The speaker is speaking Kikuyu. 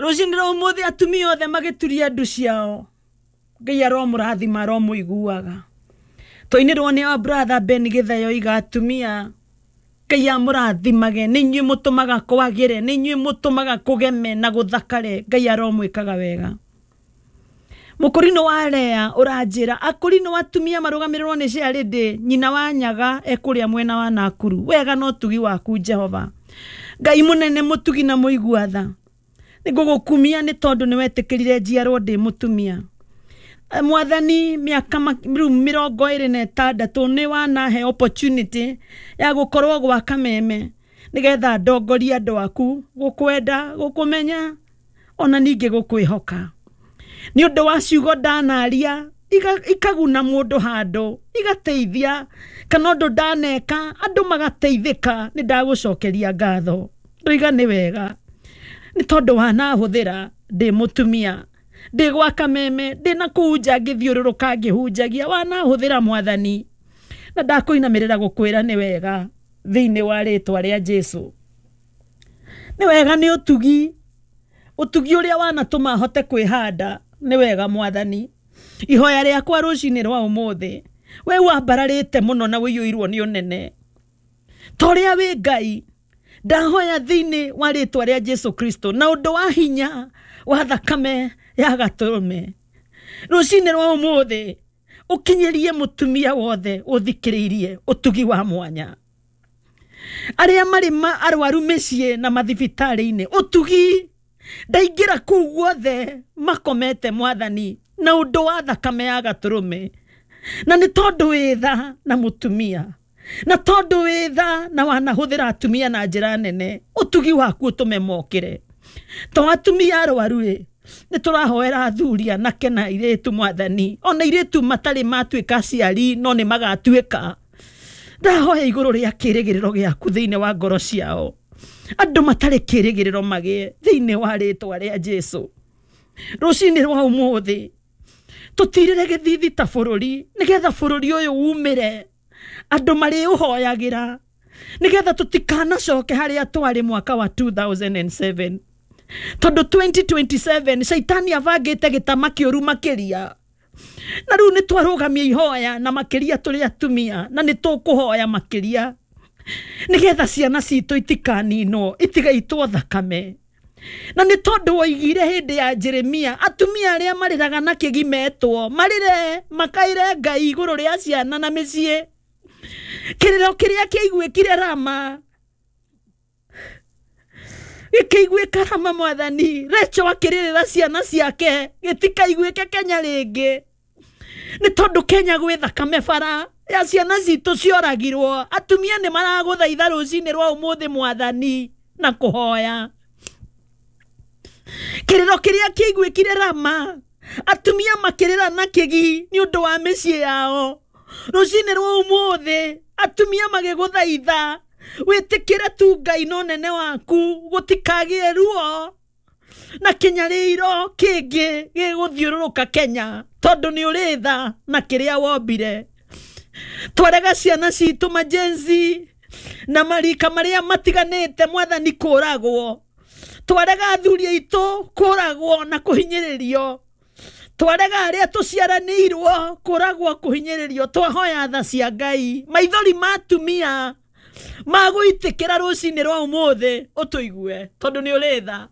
Rũcinĩ rwa ũmũthĩ atumia othe magĩturia ndu ciao, Ngai aromũrathima, aromũiguaga. Twainĩrwo nĩ our brother Ben Gĩtheyo iga atumia Ngai amũrathimage, nĩ inyuĩ mũtũmaga kwagĩre, nĩ inyuĩ mũtũmaga kũgeme na gũthakare. Ngai aromwĩkaga wega. Mũkũrinũ wa Lea ũranjĩra akũrinũ atumia marũgamĩrĩrwo nĩ Charity nyina wa Nyaga ekũrĩa mwena wa Nakuru. Wega na ũtugi waku Jehova Ngai mũnene mũtugi na mũigua tha, nĩngũgũkumia nĩ tondũ nĩwetĩkĩrire njiarwo ndĩ mũtumia. Mwathani, mĩaka rĩu 26 nĩ wanahe opportunity ya gũkorwo gwa Kameme nĩgetha ndongorie andũ aku gũkwenda, gũkũmenya ona ningĩ gũkwĩhoka. Nĩ ũndũ wa ciugo ndanaria ikaguna mũndũ handũ, igateithia, kana ũndũ ndaneka andũ magateithĩka, nĩ ndagũcokeria ngatho. Ndoiga nĩ wega nĩ tondũ wanahũthĩra ndĩ mũtumia, ndĩ gwa Kameme, ndĩ na kũu nja ngĩthiũrũrũka ngĩhunjagia, wanahũthĩra Mwathani, na ndakũinamĩrĩra gũkwĩra nĩ wega thĩinĩ wa rĩtwa rĩa Jesu. Nĩ wega nĩ ũtugi, ũtugi ũrĩa wanatũma hote kwĩhanda, nĩ wega Mwathani. Ihoya rĩakwa rũcinĩ rwa ũmũthĩ, we wambararĩte mũno na ũiyũirwo nĩ ũnene ta ũrĩa wĩ Ngai, ndahoya thĩinĩ wa rĩtwa rĩa Jesu Kristo na ũndũ wa hinya wa thakame ya gatũrũme, rũcinĩ rwa ũmũthĩ ũkinyĩrie mũtumia wothe ũthikĩrĩirie ũtugi wa mwanya, arĩa marĩ arwaru mĩciĩ na mathibitarĩ-inĩ, ũtugi ndaingĩra kũu guothe makomete Mwathani na ũndũ wa thakame ya gatũrũme, na nĩ tondũ wĩ tha na mũtumia, na tondũ wĩ tha na wanahũthĩra atumia na njĩra nene, ũtugi waku ũtũme mokĩre. To atumia arwaru rĩ, nĩ tũrahoera athuri anake na airĩtu Mwathani, ona airĩtu matarĩ matuĩka aciari no nĩ magatuĩka. Ndahoya igũrũ rĩa kĩrĩgĩrĩro gĩaku thĩinĩ wa ngoro ciao, andũ matarĩ kĩrĩgĩrĩro magĩe thĩinĩ wa rĩtwa rĩa Jesu. Rũcinĩ rwa ũmũthĩ tũtirĩre gĩthithi ta bũrũri, nĩgetha bũrũri ũyũ umĩre andũ marĩũhoyagĩra, nĩgetha tũtikanacoke harĩa twarĩ mwaka wa 2007, tondũ 2027 caitani abangĩte gĩtama kĩũru makĩria, na rĩu nĩ twarũgamia ihoya na makĩria tũrĩ atumia, na nĩ tũkũhoya makĩria nĩgetha ciana citũ itikaninwo, itigaitwo thakame. Na nĩ tondũ woigire hĩndĩ ya Jeremia atumia arĩa marĩraga na kĩgi metwo marĩre makaĩre Ngai igũrũ rĩa ciana na mĩciĩ. Kĩrĩro kĩrĩa kĩaiguĩkire Rama gĩkĩiguĩka Rama Mwathani, Rachel akĩrĩrĩra ciana ciake gĩtikaiguĩke Kenya rĩngĩ, nĩ tondũ Kenya gwĩ thakame bara ya ciana citũ cioragirwo. Atumia nĩ maragũthaitha rũcinĩ rwa ũmũthĩ Mwathani na kũhoya. Kĩrĩro kĩrĩa kĩaiguĩkire Rama, atumia makĩrĩra na kĩgi nĩ ũndũ wa mĩciĩ yao. Rũcinĩ rwa ũmũthĩ atumia magĩgũthaitha wĩtĩkĩre tu Ngai na ũnene waku, gũtikagĩe ruo na kĩnyarĩro kĩngĩ gĩgũthiũrũrũka Kenya, tondũ nĩ ũrĩ tha na kĩrĩa wombire. Twarega ciana citũ majenzi na marika marĩa matiganĩte Mwathani kũragwo, twarega athuri aitũ kũragwo na kũhinyĩrĩrio, twarega arĩa tũciaranĩirwo kũragwo kũhinyĩrĩrio. Twahoya tha cia Ngai, maithori ma atumia magũitĩkĩra rũcinĩ rwa ũmũthĩ ũtũigue, tondũ nĩ ũrĩ tha.